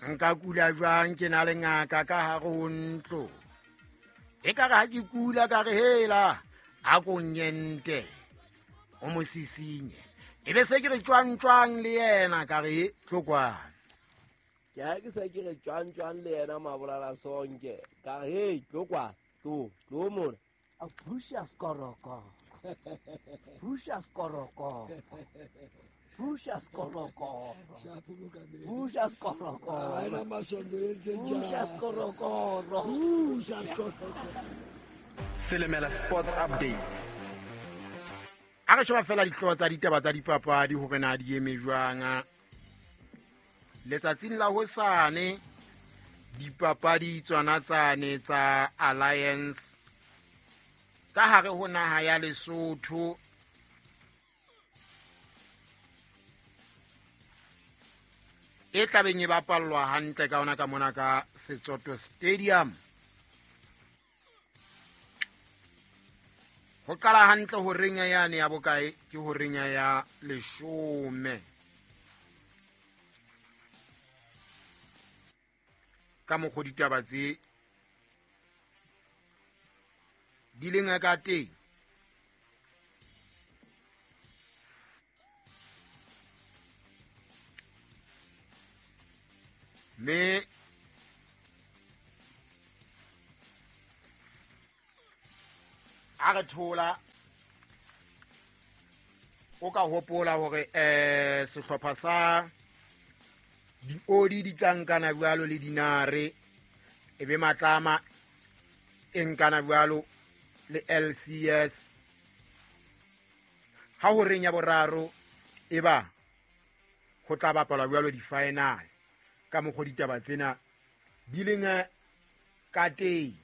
Nka kula jwang ke na le ngaka ka hare ho ntlo? Ekare ha ke kula ka re hela, a ko nyente, o mo sisinye. E be se ke re tjwang tjwang le yena ka re tlo kwana. Ke ha ke se ke re tjwang tjwang le yena Mabolala Sonke ka re hey tlo kwana, tlo, tlo mona. A phusha skorokoro. Phusha skorokoro. Phusha skorokoro. Phusha skorokoro. Phusha skorokoro. Phusha skorokoro. Selemela Sports Updates. A re sheba fela dihlooho tsa ditaba tsa dipapadi hore na di eme jwang. Letsatsing la hosane dipapadi tsona tsane tsa Alliance ka hare ho naha ya Lesotho e tlabeng e bapallwa hantle ka ona ka mona ka Setsoto Stadium. Ho qala hantle ho reng yane ya bokae ke ho reng ya 10. Ka mokgwa ditaba tse di leng ka teng. Mme a re thola o ka hopola hore sehlopha sa diodi di tla nkana jwalo le dinare, e be matlama e nkana jwalo le LCS. Ha ho reng ya boraro e ba ho tla bapalwa jwalo di-final ka mokgwa ditaba tsena di leng ka teng.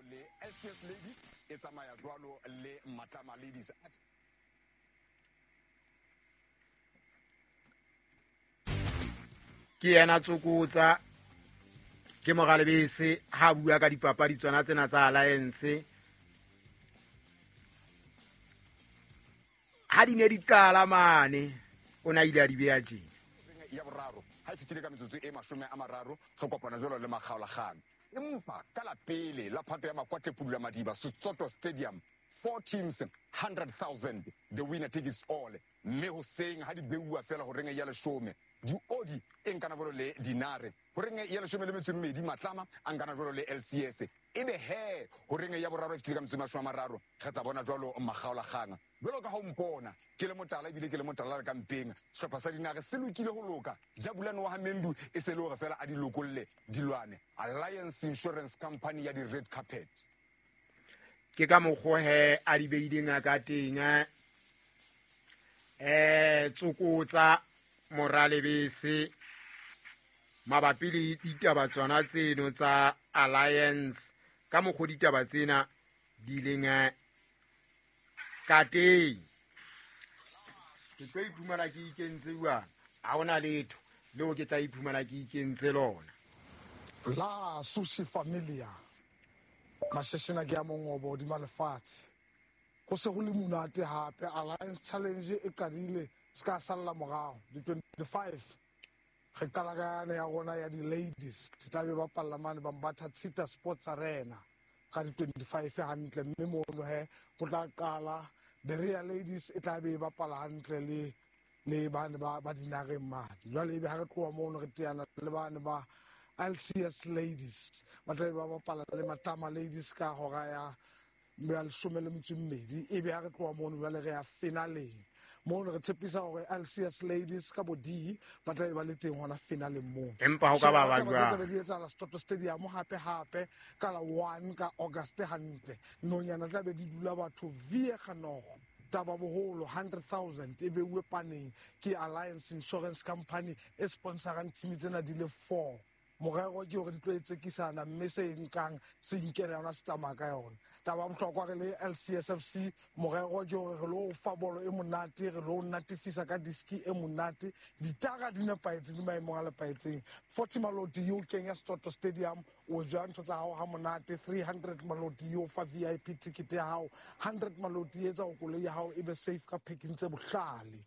Le LCS Ladies e tsamaya jwalo le Matlama Ladies. Ke yena Tsokotsa, ke Moralebese ha bua ka dipapadi tsona tsena tsa Alliance. Ha di ne di qala mane, o na ile a di beha tje. Ya boraro, ha e fetile ka metsotso e 30, re kopana jwalo le makgaolakgang. Empa ka la pele la phato ya Makwatle Pudula Madiba, Setsoto Stadium, 4 teams, 100,000, the winner takes all. Mme hoseng ha di beuwa fela ho reng ya 10, diodi e nkana jwalo le dinare. Ho reng ya 12, Matlama a nkana jwalo le LCS. Ebe he, ho reng ya boraro e fetile ka metsotso e 30, re tla bona jwalo makgaolakgang. Jwalo ka ha o mpona, ke le motala ebile ke le motala le ka mpeng. Sehlopha sa dinare se lokile ho loka. Jabulani wa ha Mendu e se le hore fela a di lokolle dilwane. Alliance Insurance Company ya di-red carpet. Ke ka mokgwa he a di beileng a ka teng, Tsokotsa Moralebese mabapi le ditaba tsona tseno tsa Alliance ka mokgwa ditaba tsena di leng ka teng. Ke tlo iphumana ke ikentse jwang? Ha hona letho leo ke tla iphumana ke ikentse lona. La Sushi Familia. Masheshena ke a mongobo hodima lefatshe. Ho se ho le monate hape. Alliance Challenge e qadile se ka salla morao. Di 25 re qala ka yane ya rona ya di-ladies. E tla be bapalla mane Bambatha Tshita Sports Arena ka di 25 hantle, mme mono he ho tla qala Berea Ladies e tla be e bapala hantle le bane ba dinareng mane. Jwale ebe ha re tloha mono re teana le bane ba LCS Ladies, ba tla be ba bapala le Matlama Ladies ka hora ya 12. Ebe ha re tloha mono jwale re ya finaleng. Mono re tshepisa hore LCS Ladies ka bo D ba tla be ba le teng hona finaleng moo. Empa ho ka ba ba Taba tse jwang? tla be di etsahala Setsoto Stadium hape hape ka la 1 ka August hantle. Nonyana tla be di dula batho Viekanogo. Taba boholo 100,000 e beuwe paneng ke Alliance Insurance Company e sponsorang team tsena di le 4. Morero ke hore di tlo etsekisana mme se nkang se inkela yona se tsamaya ka yona. Taba ya bohlokwa re le LCSFC, morero ke hore re lo fa bolo e monate, re lo natefisa ka diski e monate, ditara di nepahetse, di maemong a nepahetseng. 40 Maloti yo kenya Setsoto Stadium, o ja ntho tsa hao ha monate. 300 Maloti yo fa VIP ticket ya hao, 100 Maloti e etsa hore koloi ya hao e be safe ka packing tse bohlale.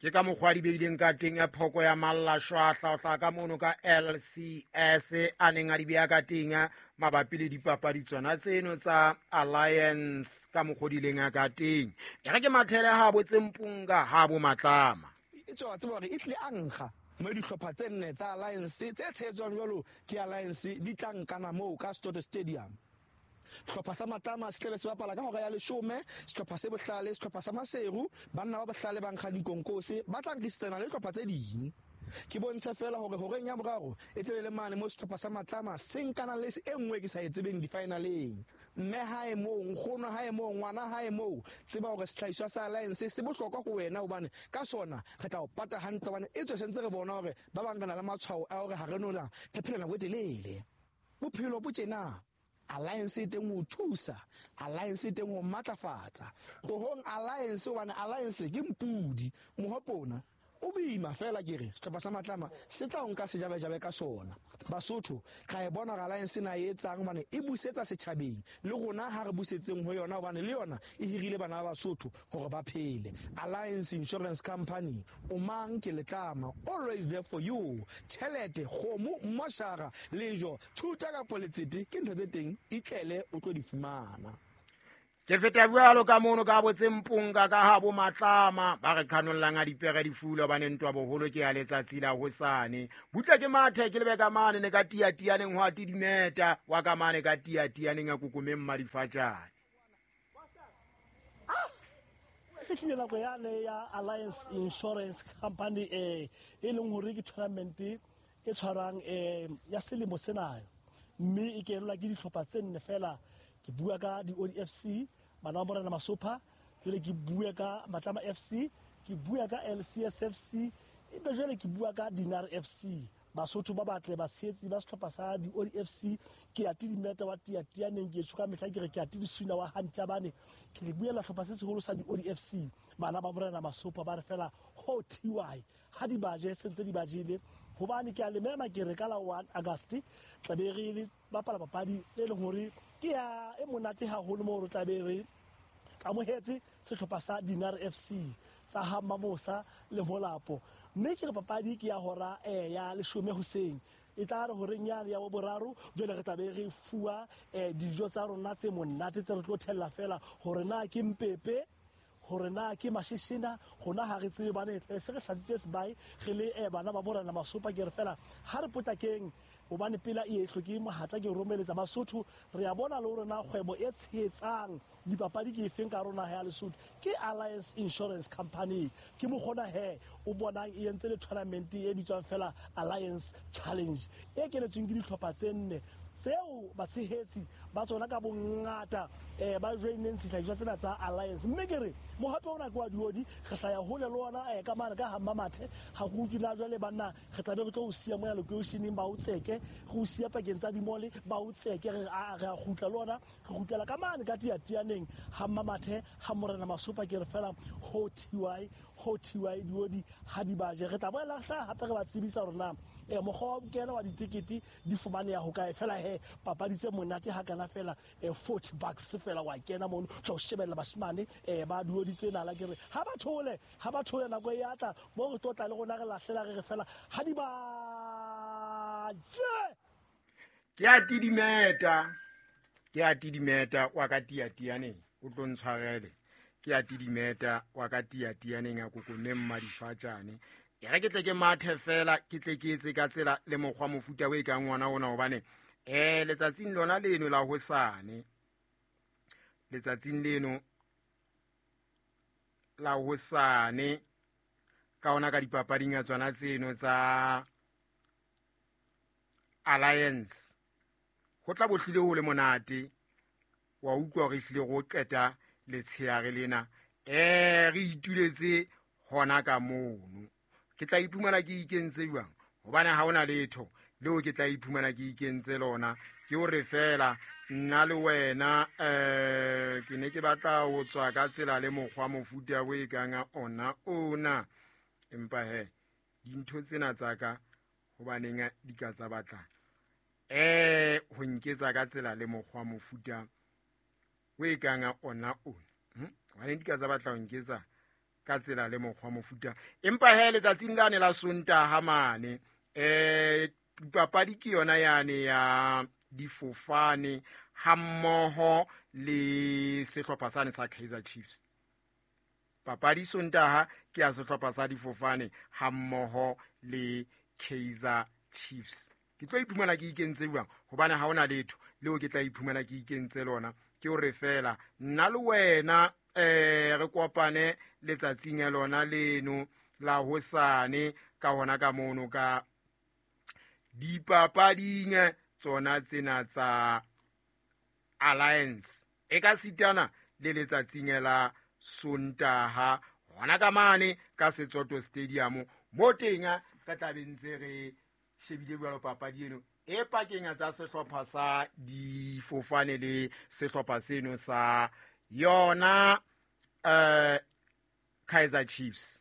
Ke ka mokgwa di beileng ka teng ya phoko ya mallashwahla ho hlaha ka mono ka LCS a neng a di beha ka teng mabapi le dipapadi tsona tseno tsa Alliance ka mokgwa di ileng ka teng. E re ke mathele ha bo Tsempunga ha bo Matlama. E tswa tseba hore e tlile a nkga mo dihlopha tse nne tsa Alliance tse tshehetswang jwalo ke Alliance di tla nkana moo ka Soto Stadium. Sehlopha sa Matlama se tlabe se bapala ka hora ya 10, sehlopha se Bohlale, sehlopha sa Maseru, banna ba Bohlale ba nkga dikonkose, ba tla nkisitsana le dihlopha tse ding. Ke bontshe fela hore horeng ya boraro e tlabe le mane mo sehlopha sa Matlama se nkana le e nngwe ke sa e tsebeng di-finaleng. Mme hae moo, nkgono hae moo, ngwana hae moo, tseba hore sehlahiswa sa Alliance se bohlokwa ho wena hobane ka sona re tla o pata hantle hobane e tswe sentse re bona hore ba bang re na le matshwao a hore ha re no la re phela nako e telele. Bophelo bo tjena. Alliance e teng ho thusa, Alliance e teng ho matlafatsa. Tlohong Alliance hobane Alliance ke mpudi, mohopona o boima fela ke re sehlopha sa Matlama se tla o nka sejabejabe ka sona. Basotho ra e bona hore Alliance na e etsang hobane e busetsa setjhabeng, le rona ha re busetseng ho yona hobane le yona e hirile bana ba Basotho hore ba phele. Alliance Insurance Company, o mang ke letlama, always there for you. Tjhelete, kgomo, moshara, lejo, thuta kapo letsete ke ntho tse teng, itlele o tlo di fumana. Ke feta jwalo ka mono ka bo Tsempunga ka ha bo Matlama ba re qhanollang a dipere di fula hobane ntwa boholo ke ya letsatsi la hosane. Butle ke mathe ke lebe ka mane ne ka tiatianeng ho a tidimeta wa ka mane ka tiatianeng a kokomeng madifatjane. Fihlile nako yane ya Alliance Insurance Company e leng hore ke tournament e tshwarang ya selemo sena, mme e kenelwa ke dihlopha tse nne fela. Ke bua ka di-ODFC, bana ba Morena Masopha, jwale ke bua ka Matlama FC, ke bua ka LCSFC, ebe jwale ke bua ka Dinar FC. Basotho ba batle batshehetsi ba sehlopha sa di-ODFC, ke ya tidimeta wa tiatianeng, ke tsho ka mehla ke re ke ya tidisuna wa Hantjabane. Ke le buela sehlopha se seholo sa di-ODFC, bana ba Morena Masopha ba re fela ho TY ha di baje se ntse di bajile. Hobane ke a le mema ke re ka la 1 August tla be re le bapala papadi e leng hore ke ya e monate haholo moo re tla be re amohetse sehlopha sa Dinar FC tsa ha Mamosa le Molapo. Mme ke re papadi ke ya hora ya 10 hoseng, e tla re horeng yane ya boraro jwale re tla be re fuwa dijo tsa rona tse monate tse re tlo thella fela hore na ke mpepe, hore na ke mashishina, rona ha re tsebe bane se re hlatsitse sebae re le bana ba Morena Masopha. Ke re fela ha re potlakeng hobane pela e hloke mohatla ke romeletsa Basotho. Re a bona le hore na kgwebo e tshehetsang dipapadi ke efeng ka rona ya Lesotho ke Alliance Insurance Company. Ke mokgona he o bonang e entse le tournament e bitswang fela Alliance Challenge e kenetsweng ke dihlopha tse nne tseo batshehetsi ba tsona ka bongata ba joineng sehlahiswa tsena tsa Alliance. Mme ke re mohape ona ke wa diodi, re hlaya hole le ona ka mane ka ha Mmamathe. Ha re utlwe na jwale banna re tla be re tlo o siya moya lokeisheneng ba o tseke, re o siya pakeng tsa dimole ba o tseke, re a re a kgutla le ona, re kgutlela ka mane ka tiatianeng ha Mmamathe ha Morena Masopha. Ke re fela ho TY, ho TY diodi ha di baje. Re tla boela re hlaha hape re ba tsebisa hore na mokgwa wa bokena wa ditekete di fumaneha ho kae. Fela he papadi tse monate ha kana fela $40 fela wa kena mono tla o shebella bashimane ba diodi tsena la ke re ha ba thole nako e atla mo re tlo tla le rona re lahlela re re fela ha di ba je. Ke a tidimeta wa ka tiatianeng o tlo ntshwarele. Ke a tidimeta wa ka tiatianeng a kokomeng madifatjane. E re ke tle ke mathe fela ke tle ke etse ka tsela le mokgwa mofuta o e kang ngwana ona hobane letsatsing lona leno la hosane, letsatsing leno la hosane ka ona ka dipapading ya tsona tseno tsa Alliance ho tla bohlile ho le monate. Wa utlwa re hlile go qeta letsheare lena re ituletse hona ka mono. Ke tla iphumana ke ikentse jwang hobane ha hona letho leo ke tla iphumana ke ikentse lona. Ke hore fela nna le wena ke ne ke batla ho tswa ka tsela le mokgwa mofuta o e kang ona ona, empa he dintho tsena tsa ka hobaneng di ka tsa batla ho nketsa ka tsela le mokgwa mofuta o e kang ona ona. Hobaneng di ka tsa batla ho nketsa ka tsela le mokgwa mofuta. Empa he letsatsing lane la Sontaha mane papadi ke yona yane ya difofane hammoho le sehlopha sane sa Kaizer Chiefs. Papadi Sontaha ke ya sehlopha sa difofane hammoho le Kaizer Chiefs. Ke tlo iphumana ke ikentse jwang hobane ha hona letho leo ke tla iphumana ke ikentse lona, ke hore fela nna le wena re kopane letsatsing ya lona leno la hosane ka hona ka mono ka dipapading tsona tsena tsa Alliance e ka sitana le letsatsing la Sontaha hona ka mane ka Setsoto Stadium mo teng ka tla be ntse re shebile jwalo papadi eno e pakeng tsa sehlopha sa difofane le sehlopha seno sa yona Kaizer Chiefs.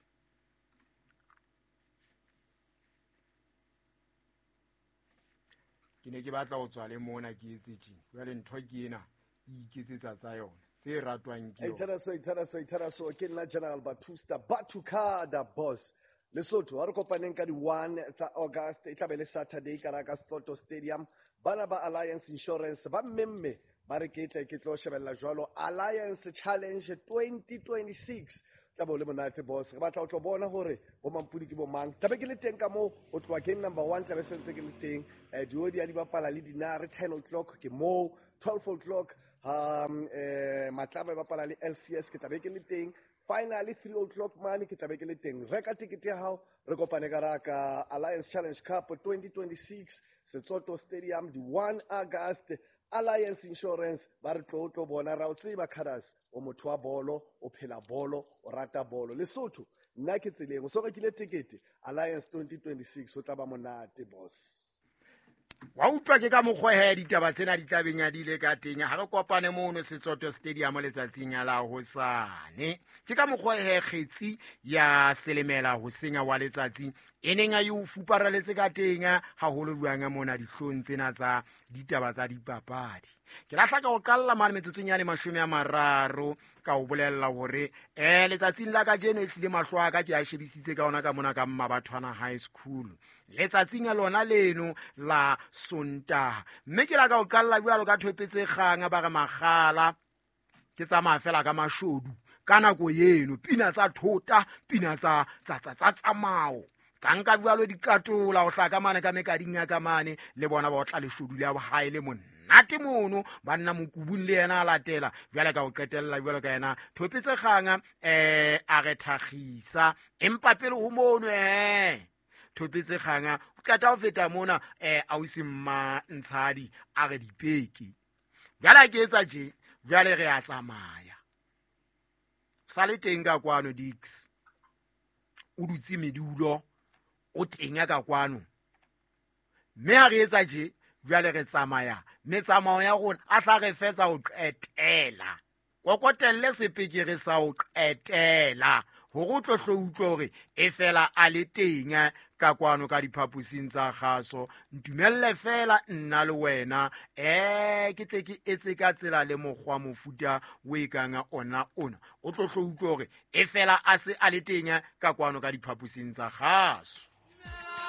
Ke ne ke batla ho tswa le mona ke etse tjena jwale ntho ke ena e iketsetsa tsa yona tse ratwang ke yona. Itshela ke nna General Batusta Batukada boss. Lesotho ha re kopaneng ka di 1 tsa August e tlabe le Saturday ka ra ka Setsoto Stadium. Bana ba Alliance Insurance ba mmemme ba re ke tle ke tlo shebella jwalo Alliance Challenge 2026. Tla bo le monate boss, re batla o tlo bona hore bo mampudi ke bo mang. Tlabe ke le teng ka moo o tloha game number 1 tlabe sentse ke le teng. Diodi a di bapala le dinare 10 o'clock ke moo, 12 o'clock Matlama e bapala le LCS ke tlabe ke le teng. Finally 3 o'clock mane ke tlabe ke le teng. Reka tikete ya hao re kopane ka ra ka Alliance Challenge Cup 2026 Setsoto Stadium di 1 August. Alliance Insurance ba re tlo tlo bona ra o tseba Khadas o motho wa bolo, o phela bolo, o rata bolo. Lesotho nna ke tseleng o so rekile tikete Alliance 2026 o tla ba monate boss. Wa utlwa ke ka mokgwa he ditaba tsena di tlabeng ya di ile ka teng. Ha re kopane mono Setsoto Stadium letsatsing la hosane. Ke ka mokgwa he kgetsi ya selemela ho senya wa letsatsi e neng a e fuparaletse ka teng haholo jwang mona dihlong tsena tsa ditaba tsa dipapadi. Ke lahla ka ho qalla mane metsotsong ya 30 ka o bolella hore letsatsing la kajeno e tlile mahlo a ka ke a shebisitse ka ona ka mona ka Mmabathwana High School. Letsatsing la lona leno la Sontaha. Mme ke la ka o qalla jwalo ka thopetse kgang ba re makgala ke tsamaya fela ka mashodu ka nako eno pina tsa thota pina tsa tsa tsamao ka nka jwalo dikatola ho hlaka mane ka mekading ya ka mane le bona ba otla leshodu le hae le monate mono banna mokubung le yena a latela jwale ka o qetella jwalo ka yena thopetse kgang a re thagisa empa pele ho mono thopetse kgang o qeta ho feta mona ausi mma Ntshadi a re dipeke jwale ke etsa tje jwale re a tsamaya sa le teng ka kwano Dix o dutse medulo o teng ka kwano mme ha re etsa tje jwale re tsamaya metsamao ya rona a tla re fetsa ho qetela kokotelle sepekere sa ho qetela hore o tlo hlo utlwe hore e fela a le teng ka kwano ka diphaposing tsa kgaso. Ntumelle fela nna le wena ke tle ke etse ka tsela le mokgwa mofuta o e kang ona ona o tlo hlo utlwe hore e fela a se a le teng ka kwano ka diphaposing tsa kgaso.